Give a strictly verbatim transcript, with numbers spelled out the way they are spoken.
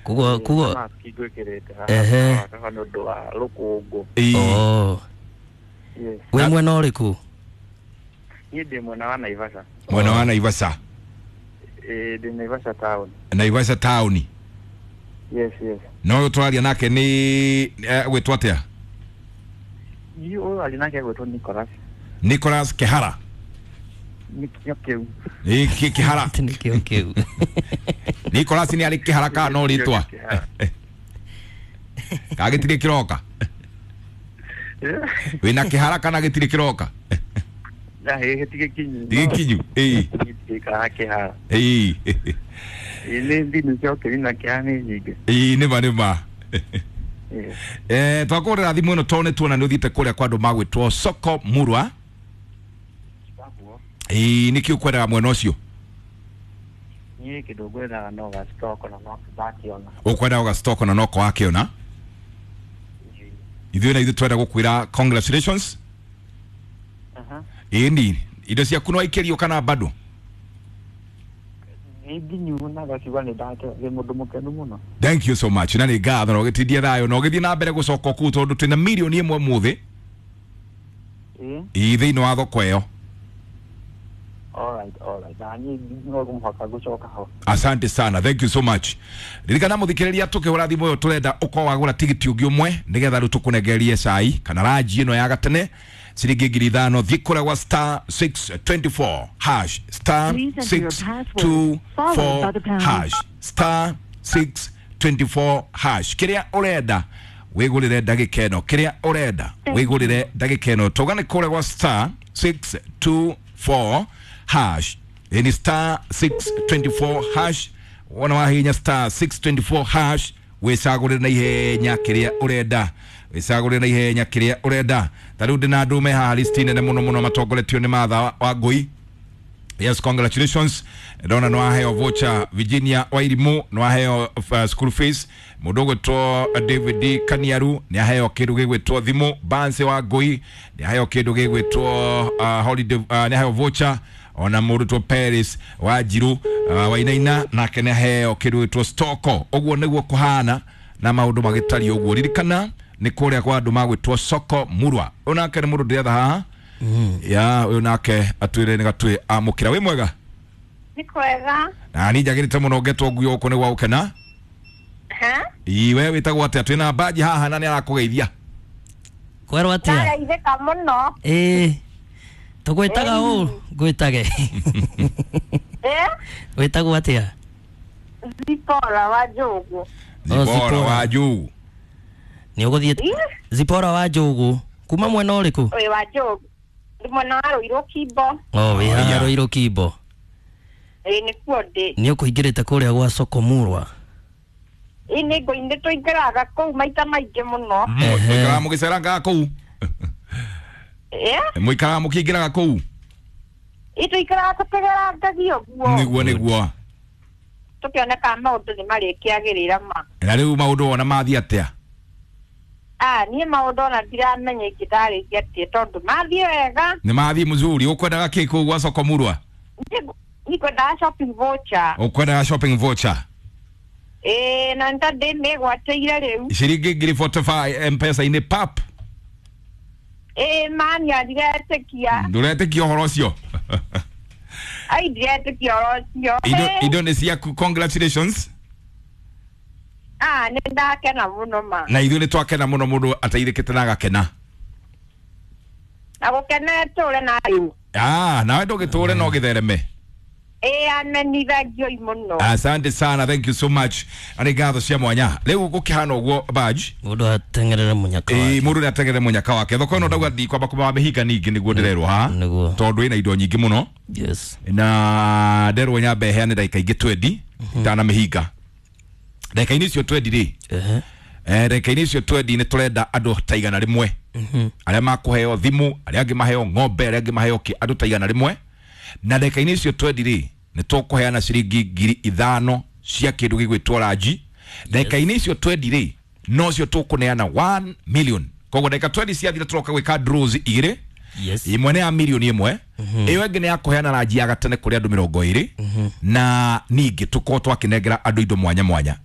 Kugo kugo Maski ngwĩkĩrĩte Ehe. haha haha nĩ ũndũ wa rũkũngũ. Ĩĩ. Oh. Yes. Wĩ mwena ũrĩkũ? Niĩ ndĩ mwena wa Naivasha. Mwena wa Naivasha. Ĩĩ, ndĩ Naivasha town. Naivasha town. Yes, yes. No ũyũ tũraria nake nĩ eh, gwĩtwo atĩa? Niĩ ũyũ arĩ nake gwĩtwo Nicholas. Nicholas Kehara. Nĩkĩo kĩu. Ĩ, Kĩ- Kĩhara. Atĩ nĩkĩo kĩu. Nicholas nĩ arĩ kĩhara kana no rĩtwa? Kĩhara. Kana gĩtirĩ kĩroka? Wĩna kĩhara kana gĩtirĩ kĩroka? Na hĩ ti gĩkinyu. Ti gĩkinyu. Ĩĩ. Gĩkaga kĩhara. Ĩĩ. Ĩĩ, nĩ thimũ cia ũkĩri na kĩhara nĩ nyingĩ. Ĩĩ, nĩma nĩma. Yes. Eh, twakũrĩra thimũ ĩno tondũ nĩ tuona nĩ ũthiĩte kũrĩa kwa andũ magwĩtwo Soko Murwa. Ĩĩ, nĩkĩ ũkwendaga mwena ũcio? Niĩ kĩndũ ngwendaga no ga stock na no ndakĩona. Ũkwendaga ũga na noko wakĩona. Ithuĩ na ithuĩ twenda gũkwĩra congratulations. Aha. Ĩni, indo ciaku no waikĩrio kana bado? Nĩ nginyu na ngakiuga nĩ ndake ndĩ mũndũ mũkenu mũno. Thank you so much. Na nĩ ngatho na ũgĩtindie thayũ na ũgĩthiĩ na mbere gũcoka kũu tondũ twĩna mirioni ĩmwe mũthĩ Ĩĩ. ĩ thĩinĩ wa thoko ĩyo. Alright, alright. Na niĩ no mũhaka gũcoka ho. Asante sana, thank you so much. Ririkana mũthikĩrĩria tũkĩhũra thimũ ĩyo tũrenda ũkorwo wagũra tigiti ũngĩ ũmwe nĩgetha rĩu tũkũnengererie cai kana ranji ĩno ya gatene ciringi ngiri ithano. Thiĩ kũrĩa gwa star six twenty four hash, star Please enter your six password, two followed four by the pound. hash, star six twenty four hash. Kĩrĩa ũrenda wĩgũrĩre ndagĩka ĩno, kĩrĩa ũrenda wĩgũrĩre ndagĩka ĩno. Tũgane kũrĩa gwa star six two four hash. Ĩni star six twenty four hash. Wona wahihinya star six twenty four hash wĩcagũrĩre na ihenya kĩrĩa ũrenda, wĩcagũrĩre na ihenya kĩrĩa ũrenda. Ta rĩu ndĩna andũ me haha listi nene mũno mũno matongoretio nĩ Martha wa- wa Ngũi. Yes, congratulations. Ndona no aheo voucher. Virginia Wairimu no aheo uh, school fees. Mundu gwitwo David Kaniaru ni aheo kindu gigwitwo thimu. Banse wa Ngui ni aheo kindu gigwitwo uh, holiday, uh, ni aheo voucher. Ona mundu two Paris wa Njiru uh, Wainaina nake ni aheo kindu gigwitwo stoko. Uguo niguo kuhana na maundu magitari uguo. Ririkana ni kuria kwa andu magwitwo Soko Murwa. Onake ni mundu ndiretha haha ya uyu nake atwire ni gatwi amukira. Wi mwega? Nĩ kwega. Na ni njagirite muno ngetwo nguo uko ni gwa gukena. Ha? Ii, we witagwo atia? Twina mbaji haha na ni arakugeithia. Kwerwo atĩa? Ndageithĩka mũno. Ĩĩ. Tũgwĩtaga ũ? Ngwĩtage. Ĩ? Wĩtagwo atĩa? Zipora wa Njũgũ. Oh, Zipora Zipora. wa Njũgũ. Nĩ ũgũthiĩ Ĩ? Zipora wa Njũgũ. Kuma mwena ũrĩkũ? Ũyũ wa Njũgũ. Ndĩ mwena wa Rũirũ Kimbo. Oh, wĩ haha Aya. Rũirũ Kimbo. Ĩ, nĩkuo ndĩ. Nĩ ũkũingĩrĩte kũrĩa gwa Soko Murwa. Ĩ, nĩ ngũ nĩ tũingĩraga kũu maita maingĩ mũno. Ehe. Mũikaraga mũgĩcerangaga kũu? Ĩ? Mũikaraga mũkĩingĩraga kũu? Ĩ, tũikaraga tũkĩgerangagia ũguo. Nĩguo nĩguo. Tũkĩoneka maũndũ nĩ marĩkĩagĩrĩra ma. Na rĩu maũndũ wona mathiĩ atĩa? Ah, niĩ maũndũ ona ndiramenya ingĩndarĩria atĩa tondũ mathiĩ wega. Nĩ mathiĩ mzuri. Ũkwendaga kĩ kũu gwa Soko Murwa? Niĩ ngwendaga shopping voucher. Ũkwendaga shopping voucher? Ĩ, na nĩ ta ndĩmĩgwatĩire rĩu. Ciringi ngiri forty five M-Pesa-inĩ pap. Ĩ, mania ndiretĩkia. Ndũretĩkia ũhoro ũcio? Ai, ndiretĩkia ũhoro ũcio. Indo Ĩ. indo nĩ ciaku, congratulations. Ah, nĩ ndakena mũno ma. Na ithuĩ nĩ twakena mũno mũndũ ateithĩkĩte na agakena. Na gũkena tũre na rĩu. Ah, nawe ndũgĩtũre no gĩthereme. Ĩ, amenithagioi mũno. Asante sana, thank you so much. Na nĩ ngatho cia mwanya. Rĩu gũkĩhana ũguo badge. Mũndũ ateng'erere mũnyaka Ĩĩ, wake. mũndũ nĩ ateng'erere mũnyaka wake. Thoko ĩno ndauga ndikwamba kũmamĩhinga ningĩ nĩguo ndĩrerwo haha. Nĩguo. Tondũ ĩna indo nyingĩ mũno. Yes. Na nderwo nyambe heane ndagĩka ingĩ twendi itanamĩhinga. Ndagĩka-inĩ icio twendi rĩ, Ehe. eh, ndagĩka-inĩ icio twendi nĩ tũrenda andũ ta igana rĩmwe arĩa makũheo thimũ, arĩa angĩ maheo ng'ombe, arĩa angĩ maheo kĩ, andũ ta igana rĩmwe. Na ndagĩka-inĩ icio twendi rĩ, nĩ tũkũheana ciringi ngiri ithano cia kĩndũ gĩgwĩtwo ranji. Ndagĩka-inĩ icio twendi rĩ, nocio tũkũneana one million. Koguo ndagĩka twendi ciathira tũroka gwĩka draws igĩrĩ. Yes. Ĩmwe nĩ ya milioni ĩmwe, ĩyo ĩngĩ nĩ ya kũheana ranji ya gatene kũrĩ andũ mĩrongo ĩrĩ, na ningĩ tũkorwo twakĩnengera andũ indo mwanya mwanya.